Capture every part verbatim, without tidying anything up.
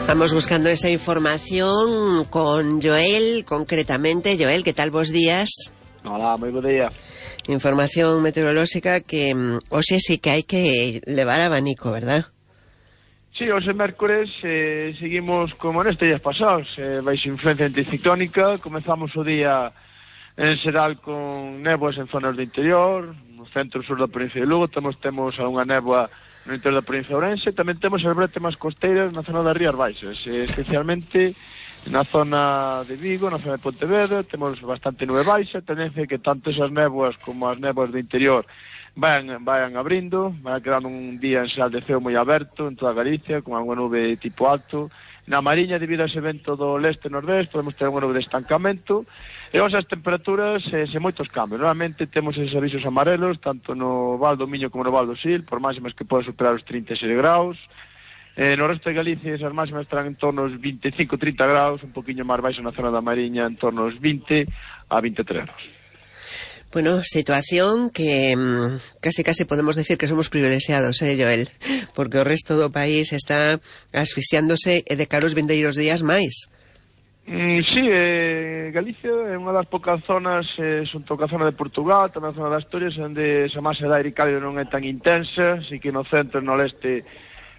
Vamos buscando esa información con Joel, concretamente. Joel, ¿qué tal vos días? Hola, moi bo día. Información meteorolóxica que hoxe sí que hai que levar abanico, verdad? Sí, hoxe mércores eh, seguimos como nestes días pasados, eh, baixo influencia anticiclónica. Comezamos o día en xeral con néboas en zonas do interior, no centro sur da provincia de Lugo, temos, temos algunha néboa no interior da provincia de Ourense, tamén temos as bretemas costeiras na zona das Rías Baixas, eh, especialmente na zona de Vigo, na zona de Pontevedra, temos bastante nube baixa, tendencia que tanto esas néboas como as néboas do interior vayan, vayan abrindo, vai quedando un día en xeral de ceo moi aberto en toda Galicia, con alguna nube tipo alto. Na Mariña, debido a ese vento do leste-nordeste, podemos ter unha nube de estancamento, e hoxe as temperaturas eh, sen moitos cambios. Normalmente temos esos avisos amarelos, tanto no Val do Miño como no Val do Sil, por máximas que poden superar os trinta e seis graus. Eh, no resto de Galicia esas máximas estarán en torno aos veinticinco a trinta graus, un poquinho máis baixo na zona da Mariña, en torno aos vinte a vinte e tres graus. Bueno, situación que mmm, casi casi podemos decir que somos privilexiados, eh, Joel, porque o resto do país está asfixiándose e de caros vindeiros días máis. Mm, sí, eh, Galicia é unha das poucas zonas, eh, xunto coa zona de Portugal, tamén a zona das Asturias, onde esa masa de aire cálido non é tan intensa, así que no centro e no leste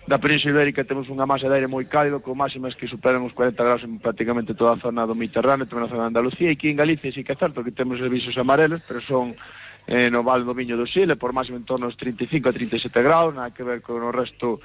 da Península Ibérica temos unha masa de aire moi cálido, con máximas que superan os cuarenta graus en prácticamente toda a zona do Mediterráneo, tamén na zona de Andalucía, e aquí en Galicia sí que é certo que temos avisos amarelos, pero son eh, no Val do Miño do Sil, por máximo en torno aos trinta e cinco a trinta e sete graus, nada que ver con o resto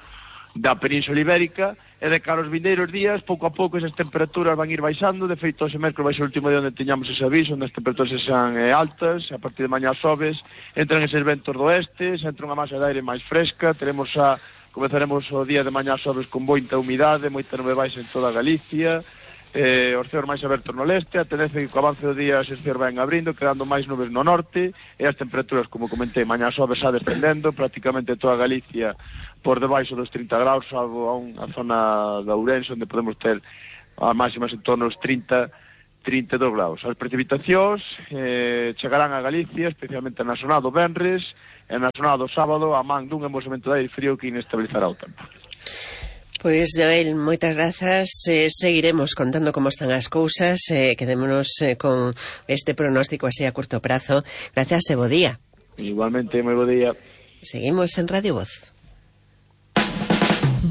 da Península Ibérica, e de cara aos vindeiros días, pouco a pouco esas temperaturas van ir baixando. De feito, ese mércoles vai ser o último día onde teñamos ese aviso, onde as temperaturas sean eh, altas, a partir de mañá sobes, entran eses ventos do oeste, se entra unha masa de aire máis fresca, teremos a comezaremos o día de mañá sobres con moita humidade, moita nube baixa en toda Galicia, eh, os ceos máis abertos no leste, a tendencia que co avance do día os ceos van abrindo, quedando máis nubes no norte, e as temperaturas, como comentei, mañá sobres xa descendendo, prácticamente toda Galicia por debaixo dos trinta graus, salvo a unha zona da Ourense, onde podemos ter a máximas en torno aos trinta, trinta e dous graus. As precipitacións eh, chegarán a Galicia, especialmente na zona do venres, e na zona do sábado, a man dun embosamento de aire frío que inestabilizará o tempo. Pois, Joel, moitas grazas. Eh, seguiremos contando como están as cousas. Eh, quedémonos eh, con este pronóstico así a curto prazo. Gracias e bo día. Igualmente, moi bo día. Seguimos en Radio Voz.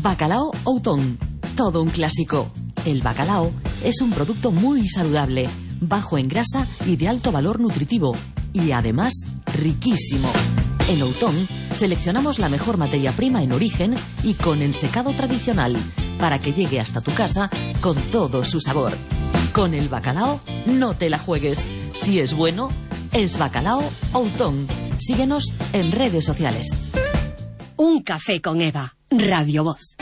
Bacalao Outón, todo un clásico. El bacalao es un producto muy saludable, bajo en grasa y de alto valor nutritivo, y además riquísimo. En Outón seleccionamos la mejor materia prima en origen y con ensecado tradicional para que llegue hasta tu casa con todo su sabor. Con el bacalao no te la juegues. Si es bueno, es Bacalao Outón. Síguenos en redes sociales. Un café con Eva, Radio Voz.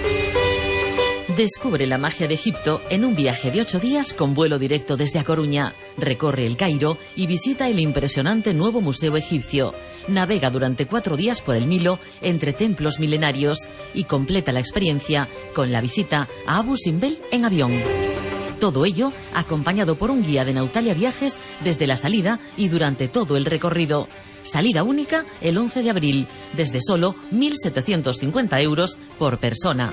Descubre la magia de Egipto en un viaje de ocho días con vuelo directo desde A Coruña. Recorre el Cairo y visita el impresionante nuevo Museo Egipcio. Navega durante cuatro días por el Nilo entre templos milenarios y completa la experiencia con la visita a Abu Simbel en avión. Todo ello acompañado por un guía de Nautalia Viajes desde la salida y durante todo el recorrido. Salida única el once de abril, desde solo mil setecientos cincuenta euros por persona.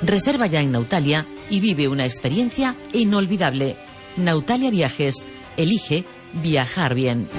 Reserva ya en Nautalia y vive una experiencia inolvidable. Nautalia Viajes. Elige viajar bien.